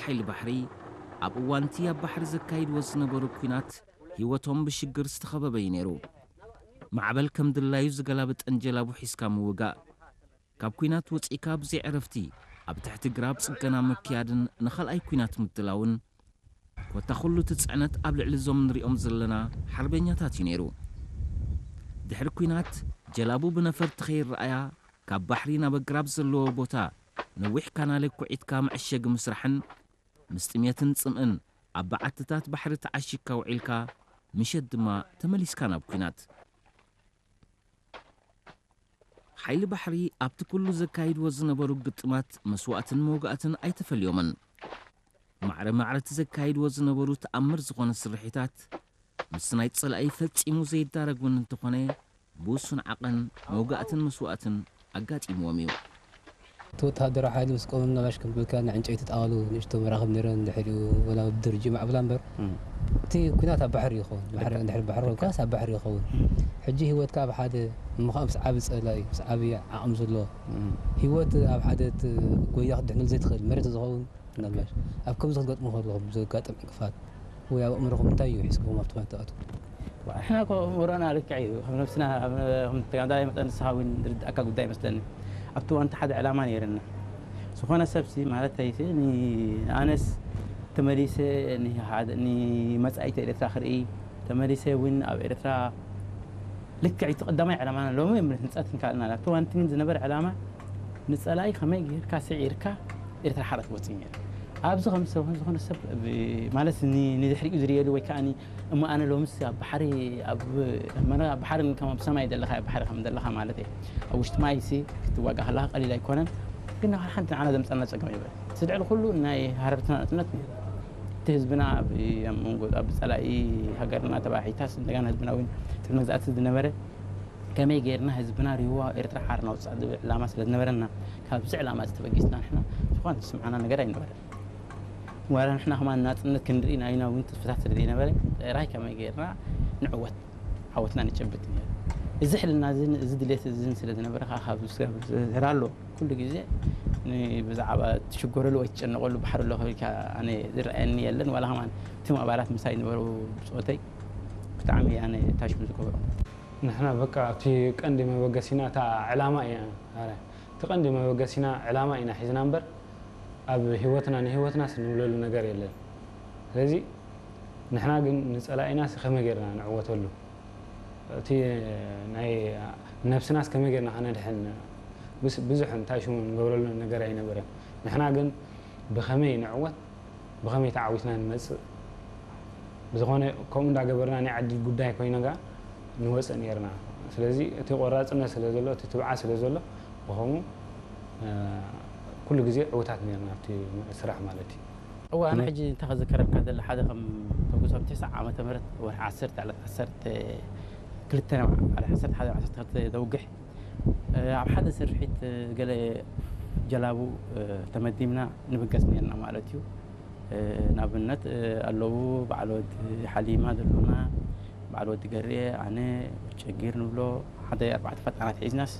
ሓይሊ ባሕሪ ኣብ እዋንቲ ኣብ ባሕሪ ዘካይድዎ ዝነበሩ ኲናት ህይወቶም ብሽግር ዝተኸበበ እዩ ነይሩ። ማዕበል ከም ድላዩ ዝገላብጠን ጀላቡ ሒዝካ ምውጋእ፣ ካብ ኲናት ወጺእካ ብዘይ ዕረፍቲ ኣብ ትሕቲ ግራብ ጽገና ምክያድን ንኻልኣይ ኲናት ምድላውን፣ ኮታ ኩሉ እቲ ጽዕነት ኣብ ልዕሊ እዞም ንሪኦም ዘለና ሓርበኛታት እዩ ነይሩ። ድሕሪ ኲናት ጀላቡ ብነፈርቲ ከይረኣያ ካብ ባሕሪ ናብ ኣግራብ ዘለዎ ቦታ ነዊሕ ካናለ ኩዒትካ መዐሸጊ ምስራሕን ምስ ጥሜትን ጽምእን ኣብ በዓትታት ባሕሪ ተዓሺግካ ውዒልካ ምሸት ድማ ተመሊስካ ናብ ኲናት። ሓይሊ ባሕሪ ኣብቲ ኩሉ ዘካይድዎ ዝነበሩ ግጥማት መስዋእትን መውጋእትን ኣይተፈልዮምን። ማዕረ ማዕረ እቲ ዘካይድዎ ዝነበሩ ተኣምር ዝኾነ ስርሒታት ምስ ናይ ጸላኢ ፈጺሙ ዘይዳረግ እውን እንተኾነ ብውሱን ዓቐን መውጋእትን መስዋእትን ኣጋጢምዎም እዩ። እቲ ወተሃደራዊ ሓይሊ ምስ ቆመ ምናልባሽ ከም ዝብልካ ናይ ዕንጨይቲ ጣዋሉ ንእሽቶ መራኽብ ነይረን ድሕሪኡ ወላ ብድርጅ ማዕብላ እምበር እቲ ኩናት ኣብ ባሕሪ ይኸውን። ባሕሪ እንድሕር ባሕሪ ኮይንካስ ኣብ ባሕሪ ይኸውን። ሕጂ ህይወትካ ኣብ ሓደ እሞ ከዓ ምስ ዓቢ ጸላኢ ምስ ዓቢ ዓቕሚ ዘለዎ ህይወት ኣብ ሓደ እቲ ጎያ ክትድሕነሉ ዘይትኽእል መሬት ዝኸውን ምናልባሽ ኣብ ከምዚ ክትገጥሙ ከለኹም ዘጋጥም ዕንቅፋት ወይ ኣብ ኣእምሮኹም እንታይ እዩ ሒዝክዎም ኣብቲ ኩናት ትኣትዉ? ንሕና እኮ ኣእምሮና ልክዕ እዩ። ከም ነብስና ከም ተጋዳላይ መጠን ንስኻ እውን ዝርድኣካ ጉዳይ ይመስለኒ። ኣብቲ እዋን እቲ ሓደ ዕላማ ነይርና። ዝኾነ ሰብሲ ማለተይሲ ንኣነስ ተመሊሰ ንሓደ- ንመጻኢት ኤርትራ ክርኢ ተመሊሰ እውን ኣብ ኤርትራ ልክዕ እቲ ቀዳማይ ዕላማና ሎሚ ህንጸት ንካልና ኣብቲ እዋን እቲ ግን ዝነበረ ዕላማ ንጸላኢ ከመይ ጌርካ ስዒርካ ኤርትራ ሓራ ክትወጽእ ነይሩ። ኣብዚ ከም ሰብ ዝኾነ ሰብ ማለት ንድሕሪኡ ዝርእየሉ ወይ ከዓ እሞ ኣነ ሎምስ ኣብ ባሕሪ ኣብ መነ ኣብ ባሕሪ ከም ኣብ ሰማይ ዘለኻ ኣብ ባሕሪ ከም ዘለኻ ማለት እየ። ኣብ ውሽጢ ማይ ሲ ክትዋጋ ከለኻ ቀሊል ኣይኮነን። ግን ናብ ሓንቲ ንዓና ዘምጸና ጸገም ይበል። ስድዕል ኩሉ ናይ ሃረርትና ናጽነት ነይሩ። እቲ ህዝብና ኣብ ኣብ መንጎ ኣብ ጸላኢ ሃገርና ተባሒታስ እንደገና ህዝብና እውን ትሕቲ መግዛእቲ ዝነበረ ከመይ ጌርና ህዝብና ሪዋ ኤርትራ ሓር ናውጻእ ዝብል ዕላማ ስለ ዝነበረና ካብዚ ዕላማ እዚ ተበጊስና ንሕና ዝኾነ ዝስምዓና ነገር ኣይነበረን። ዋላ ንሕና ከማን ናጽነት ክንርኢ ናይና እውን ተስፍታት ስለ ዘይነበረ ጥራይ ከመይ ጌርና ንዕወት ዓወትና ንጨብጥ ነይሩ። እዚ ሕልና እዝን እዚ ድሌት እዝን ስለ ዝነበረ ከዓ ካብ ዝስራ ኣሎ ኩሉ ግዜ ብዛዕባ ትሽገረሉ ወይ ትጨነቀሉ ባሕሪ ኣሎ ከብልካ ኣነ ዝረኣየኒ የለን። ዋላ ከማን እቶም ኣባላት ምሳይ ዝነበሩ ብፆተይ ብጣዕሚ ኣነ ታሽሙ ዝገብሮም። ንሕና በቃ እቲ ቀንዲ መበገሲና እታ ዕላማ እያ። ኣረ፣ እቲ ቀንዲ መበገሲና ዕላማ ኢና ሒዝና እምበር ኣብ ህይወትና ንህይወትናስ ንብለሉ ነገር የለን። ስለዚ ንሕና ግን ንጸላኢናስ ከመይ ጌርና ንዕወተሉ? እቲ ናይ ነብስናስ ከመይ ጌርና ከነድሕን? ብዙሕ እንታይ ሽሙ ንገብረሉ ነገር ኣይነበረን። ንሕና ግን ብኸመይ ንዕወት ብኸመይ ተዓዊትና ንመጽእ ብዝኾነ ከምኡ እንዳገበርና ናይ ዕድል ጉዳይ ኮይና ከኣ ንወፅእ ነይርና። ስለዚ እቲ ቆራፅነት ስለ ዘሎ እቲ ትብዓት ስለ ዘሎ ብኸምኡ ኩሉ ግዜ ዕውታት ነይርና ኣብቲ ስራሕ ማለት እዩ። እዋ ኣነ ሕጂ እንታይ ክዝከረካ ዘለ ሓደ ከም ተጉሶም ትስዓ ዓመተ ምህረት ወርሒ ዓሰርተ ዕለት ዓሰርተ ክልተ ዓሰርተ ሓደ ዓሰርተ ክልተ ዘውግሕ ኣብ ሓደ ስርሒት ገለ ጀላቡ ተመዲብና ንብገስ ነርና ማለት እዩ። ንኣብነት ኣለዉ በዓል ወዲ ሓሊማ ዘሎና በዓል ወዲ ገርየ ኣነ ጨጊር ንብሎ ሓደ ኣርባዕተ ፈጣናት ሒዝናስ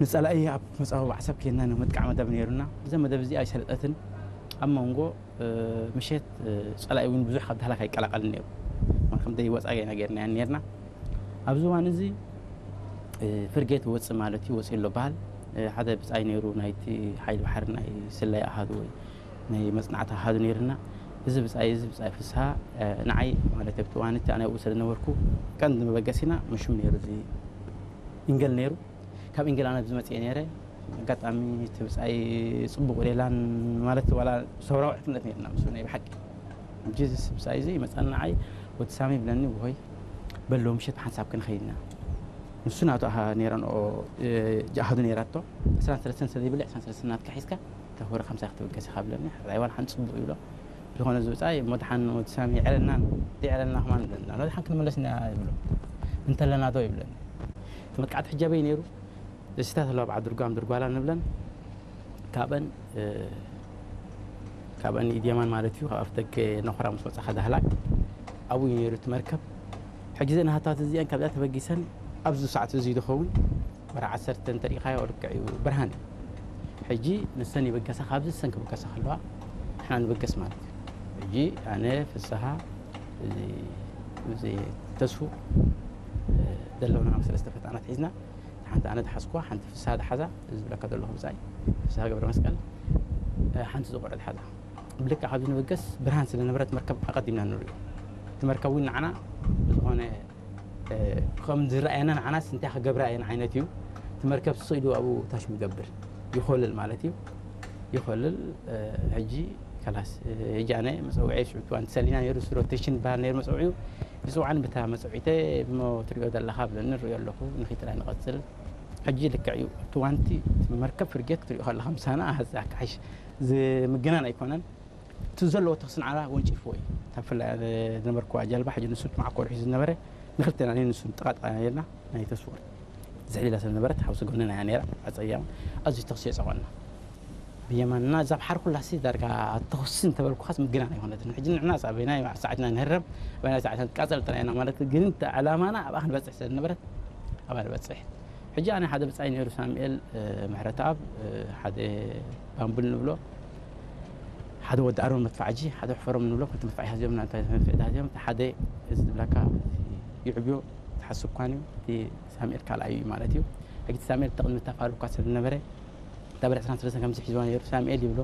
ንፀላኢ ኣብ መፃወ ባዕሰብ ኬና ንምጥቃዕ መደብ ነይሩና። እዛ መደብ እዚኣ ኣይሰለጠትን ኣብ መንጎ ምሸት ጸላኢ እውን ብዙሕ ካብ ዳህላክ ኣይቀላቀልን ነይሩ። ከም ደይ ወጻ ገና ጌርናያን ነርና። ኣብዚ እዋን እዚ ፍርጌት ወጽእ ማለት እዩ ወጽእ ኣሎ በሃል ሓደ ብጻይ ነይሩ ናይቲ ሓይሊ ባሕሪ ናይ ስለያ ኣሃዱ ወይ ናይ መጽናዕቲ ኣሃዱ ነይርና። እዚ ብጻይ እዚ ብጻይ ፍስሃ ንዓይ ማለት ኣብቲ እዋን እቲ ኣነ ኣብኡ ስለ ዝነበርኩ ቀንዲ መበገሲና ምሹም ነይሩ እዚ ኢንገል ነይሩ። ካብ ኢንግላንድ ኣብዚ መፅኤ ነይረ ኣጋጣሚ እቲ ብፃይ ፅቡቅ ሌላን ማለት ዋላ ሰውራዊ ዕርክነት ነይርና ምስ ናይ ብሓቂ ሕጂ እዚ ብፃይ እዚ ይመፃና ንዓይ ወዲ ሳሚ ይብለኒ ውሆይ በሎ ምሸት ብሓንሳብ ክንኸይድና ንሱ ናቱ ኣሃ ነይረንኦ ጃሃዱ ነይራቶ ዕስራን ሰለስተን ስለ ዘይብለ ዕስራን ሰለስተን ናትካ ሒዝካ ተኮረ ከምሳ ክትብገስ ኢኻ ብለኒ ሕራይ ዋላ ሓንቲ ፅቡቅ ይብሎ ዝኾነ ዝብፃ እሞ ድሓን ወዲ ሳሚ ይዕረልና ይዕረልና ከማን ይብለና ኖ ድሓን ክንመለስ ኢና ይብሎ እንተለና ዶ ይብለኒ እቲ መጥቃዕቲ ሕጃበይ ነይሩ ደሲታት ኣለዋ በዓል ድርጓም ድርጓላ ንብለን ካብአን ካብአን ኢድየማን ማለት እዩ ካብ ኣፍደገ ነኾራ ምስ ወፃኻ ዳህላክ ኣብኡ እዩ ነይሩ እቲ መርከብ ሕጂ ዘን ሃታት እዚአን ካብዚኣ ተበጊሰን ኣብዚ ሰዓት እዚ ዝኸውን ወራ ዓሰርተ እንተሪኢኻዮ ልክዕ እዩ ብርሃን እዩ ሕጂ ንሰን ይበገሳ ካብዚ ሰን ክብገሳ ከለዋ ንብገስ ማለት እዩ። ሕጂ ኣነ፣ ፍስሃ፣ እዚ፣ እዚ ተስፉ፣ እ፣ ዘለውና ሰለስተ ፈጣናት ሒዝና፣ ሓንቲ ኣነ ዝሓዝኩዋ፣ ሓንቲ ፍስሃ ዝሓዛ፣ እዚ ዝብለካ ዘለኹ ብጻይ ፍስሃ ገብረ መስቀል፣ እ፣ ሓንቲ ዝቆረድ ሓዛ። ብልክዕ ካብዚ ንብገስ ብርሃን ስለ ነበረት መርከብ ኣቐዲምና ንርእዮ። እቲ መርከብ እውን ንዓና ዝኾነ፣ እ፣ ከም ዝረኣየና ንዓናስ እንታይ ክገብራ እየን ዓይነት እዩ። እቲ መርከብ ስቕ ኢሉ ኣብኡ ታሽሙ ይገብር፣ ይኾልል ማለት እዩ። ይኾልል፣ እ፣ ሕጂ ከላስ፣ እ፣ ሕጂ ኣነ መጸውዒ ሽዑ እዋን ተሰሊና ነይሩ፣ ሮቴሽን በሃል ነይሩ መጸውዒኡ። ይጽውዓኒ ብታ መጸውዒተ፣ እሞ ትሪኦ ዘለኻ ብለኒ፣ ንሪኦ ኣለኹ፣ ንኺድ ጥራይ ንቐጽል። ሕጂ ልክዕ እዩ፣ እቲ ዋንቲ፣ እቲ መርከብ ፍርጌት ክትሪኦ ከለኻ ምሳና፣ ኣዛ ክሓይሽ ዝምግናን ኣይኮነን። እቲ ዘለዎ ተኽሲ ንዓና ወንጪፍዎ እዩ። እታ ብፍላይ ዝነበርኩዋ ጀልባ፣ ሕጂ ንሱ መዓኮር ሒዙ ዝነበረ፣ ንክልቴና፣ ኣነ ንሱ ጥቓ ጥቓ ነርና፣ ናይ ተስፎር ዝሕሊላ ስለ ዝነበረት፣ ሓውሲ ጎንና እያ ነይራ፣ ኣጸያም፣ ኣዝዩ ተኽሲ የጸቆና። ብየማንና እዛ ባሕሪ ኩላሲ ዳርጋ ተኹሲ እንተበልኩኻስ ምግናን ኣይኮነትን። ሕጂ ንሕና ኣበይናይ ሰዓትና ንህረም፣ ኣበይናይ ሰዓትና ንቃጸል ጥራይ ኢና ማለት፣ ግን እቲ ዕላማና ኣብኣ ክንበጽሕ ስለ ዝነበረት፣ ኣብኣ ንበጽሕ። ሕጂ ኣነ ሓደ ብጻይ ነይሩ፣ ሳሙኤል፣ እ፣ ምሕረተኣብ፣ እ፣ ሓደ ባምቡል ንብሎ፣ ሓደ ወዲ ኣሮን መድፋዕጂ፣ ሓደ ሕፈሮም ንብሎ፣ ክልተ መድፋዕ ሓዚኦም፣ ናንታ መድፍዕ ሓዚኦም፣ እቲ ሓደ እዚ ዝብለካ ይዕብዮ፣ ተሓስብ ኳን እዩ፣ እቲ ሳሙኤል ካልኣዩ እዩ ማለት እዩ። ሕጂ እቲ ሳሙኤል ተቕድሚ እታ ፋብሪካ ስለ ዝነበረ፣ እታ ብር ዕስራን ሰለስተን ከምዚ ሒዝዋ ነይሩ፣ ሳሙኤል ይብሎ፣